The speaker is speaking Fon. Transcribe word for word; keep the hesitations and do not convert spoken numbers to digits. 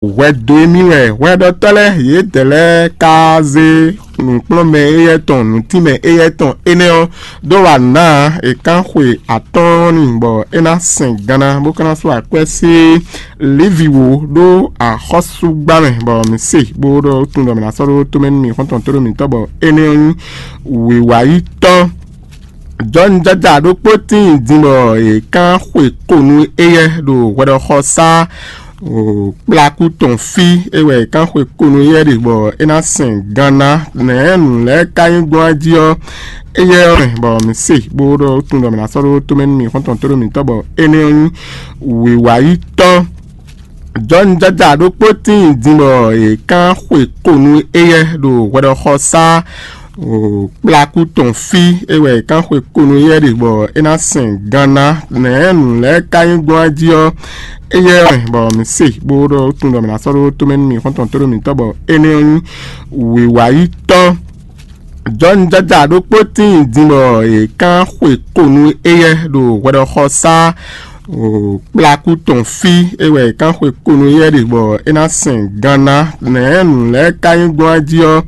Hwɛdo e mì wɛ hwɛɖɔtɔ́ lɛ́ɛ yědɛɛ lɛ́ɛ ka zé nǔkplɔ́nmɛ éyɛ́ tɔn nǔtínmɛ éyɛ́ tɔn énɛ́ ɔ́ dó wá nǔ ná ǎ. È kán xwe atɔ́ɔ́n n'i bɔ é ná sɛn ganna bó ka ná sú akwɛ́ sí Livi wǒ ɖó axɔ́súgbá mɛ, bɔ mǐ se bó ɖɔ tunwun ɖɔ mǐ ná sɔ́ ɖó tomɛ nú mì xɔ́ntɔn tóɖó mǐtɔn, bɔ énɛ́ ɔ́ nyí wǐwáyítɔ́. Jɔ́nujɔ́ja ɖokpó tíin din bɔ è kán xwe ko nú éyɛ́ ɖo hwɛɖɔxɔsá kplákú tɔn fí. É wɛ è kán xwe ko nú éyɛ́ ɖe bɔ é ná sɛn ganna. Nɛ̌ nǔ lɛ́ɛ ka nyí gbɔn jí ɔ́, éyɛ́ ɔ́ mɛ, bɔ mǐ se bó ɖɔ tunwun ɖɔ mǐ ná sɔ́ ɖó tomɛ nú mì xɔ́ntɔn tóɖó mǐtɔn, bɔ énɛ́ ɔ́ nyí wǐwáyítɔ́. Jɔ́nujɔ́ja ɖokpó tíin din bɔ è kán xwe ko nú éyɛ́ ɖo hwɛɖɔxɔsá kplákú tɔn fí. É wɛ è kán xwe ko nú éyɛ́ ɖe bɔ é ná sɛn ganna. Nɛ̌ nǔ lɛ́ɛ ka nyí gbɔn jí ɔ́, éyɛ́ ɔ́ mɛ, bɔ mǐ se bó ɖɔ tunwun ɖɔ mǐ ná sɔ́ ɖó tomɛ nú mì xɔ́ntɔn tóɖó mǐtɔn, bɔ énɛ́ ɔ́ nyí wǐwáyítɔ́. Jɔ́nujɔ́ja ɖokpó tíin din bɔ è kán xwe ko nú éyɛ́ ɖo hwɛɖɔxɔsá kplákú tɔn fí. É wɛ è kán xwe ko nú éyɛ́ ɖe bɔ é ná sɛn ganna. Nɛ̌ nǔ lɛ́ɛ ka nyí gbɔn jí ɔ́,